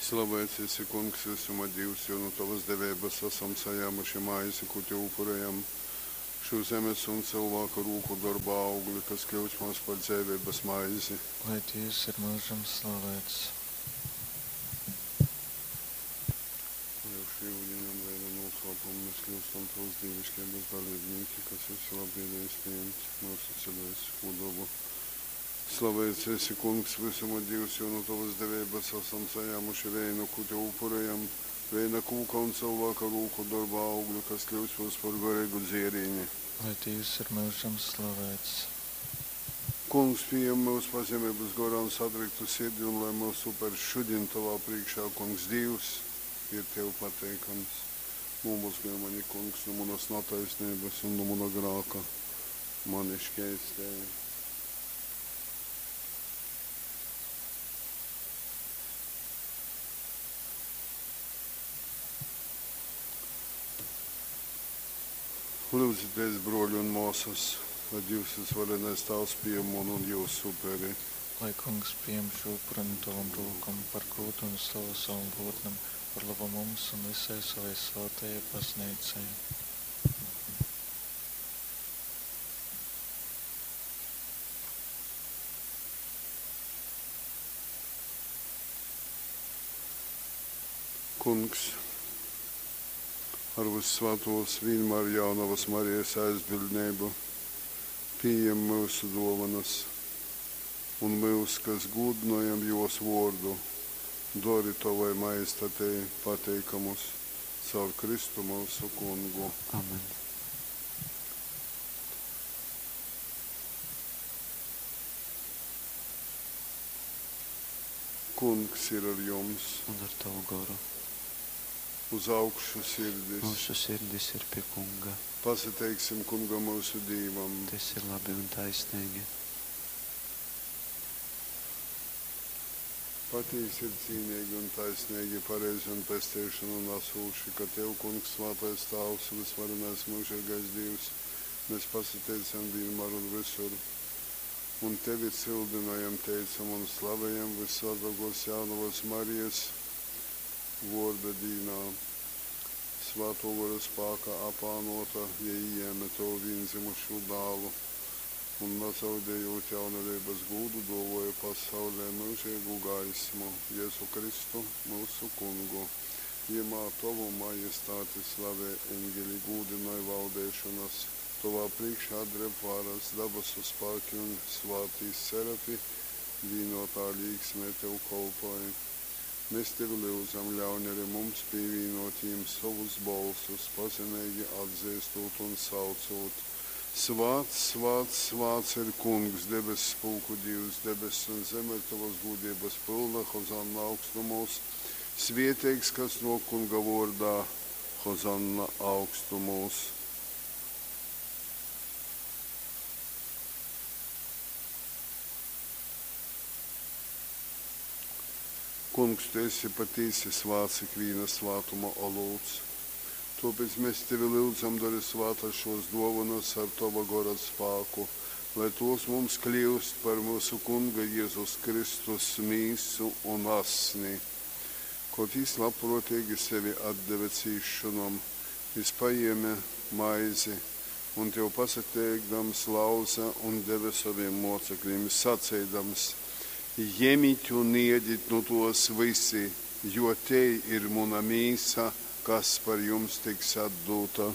Slaveits esi, Kungs, vysuma Dīvs, jo nu tovas deveibas asam sajāmuši maizi, kū tev upurejam, šū zemes un cylvāka rūku dorba augli, kas kļyus mums par dzeiveibas maizi. Lai Dīvs ir myužam slaveits. Lai ar šū yudiņa un veina nūslāpumu mēs kļyustam tovas dīviškeibas daleibnīki, kas esi labvēlējies pījimt myusu cilvēciskū dobu. Slaveits esi, Kungs, vysuma Dīvs, jo nu tovas deveibas asam sajāmuši veinu, kū tev upurejam, veina kūka un cylvāka rūku dorba augli, kas kļyus mums par goreigu dzierīni. Lai Dīvs ir myužam slaveits. Kungs, pījem myus pazemeibas gorā un satriktu sirdi, un lai myusu upers šudiņ tovā prīškā, Kungs Dīvs, ir tev pateikams. Nūmozgoj mani, Kungs, nu munas nataisneibas un nu muna grāka mani škeistej. Lyudzitēs, bruoļi un muosys, lai Dīvs vysvarenais Tāvs pījem munu un jiusu uperi. Lai Kungs pījem šū upuri nu tovom rūkom par gūdu un slavu savam vōrdam, par lobu mums un vysai sovai svātajai Bazneicai. Kungs, ar vyssvātuos vīnmār Jaunovas Marijas aizbildneibu, pījem myusu duovanas un myus, kas gūdynojam juos vuordu, dori tovai majestatei pateikamus caur Kristu myusu Kungu. Amen. Kungs ir ar jums. Un ar tavu goru. Uz augšu sirdis. Myusu sirdis ir pie Kunga. Pasateiksim Kungam myusu Dīvam. Tas ir labi un taisnīgi. Patīsi ir cīneigi un taisneigi, pareizi un pesteišonu nasūši, ka Tev, Kungs, svātais Tāvs, vysvarenais myužeigais Dīvs, mēs pasateicam vīnmār un vysur, un Tevi cyldynojam, teicam un slavejam vyssvātuokos Jaunovas Marijas vuorda dīnā. Svātuo Gora spākā apānuota, jei ījēme Tovu vīndzymušū Dālu un, nazaudejūt jaunaveibas gūdu, duovuoja pasaulei myužeigu gaismu, Jezu Kristu, myusu Kungu. Jymā Tovu majestāti slavej eņgeli, gūdynoj valdeišonas, Tovā prīškā dreb varas, dabasu spāki un svātī serafi vīnuotā līksmē Tev kolpoj. Mes Tevi lyudzam, ļauņ ari mums pīvīnuot jim sovus bolsus, pazemeigi atzeistūt un saucūt, Svāts, svāts, svāts ir Kungs, debesspulku Dīvs, debess un zeme ir tovas gūdeibas pylna, hozanna augstumūs. Svieteigs, kas nuok Kunga vuordā, hozanna augstumūs. Kungs, tu esi patīsi svāts ikvīna svātuma olūts. Tuopēc mēs tevi lyudzam, dori svātas šos duovanas ar tova gora spāku, lai tos mums kliust par myusu Kunga Jezus Kristus mīsu un asni. Kod jis labpruoteigi sevi atdeve cīsšonom, jis pajēme maizi un, tev pasateikdams, lauze un deve sovim muoceklim, saceidams, Jemit un iedit nu tuos vysi, jo tei ir muna mīsa, kas par jums tiks atdūta.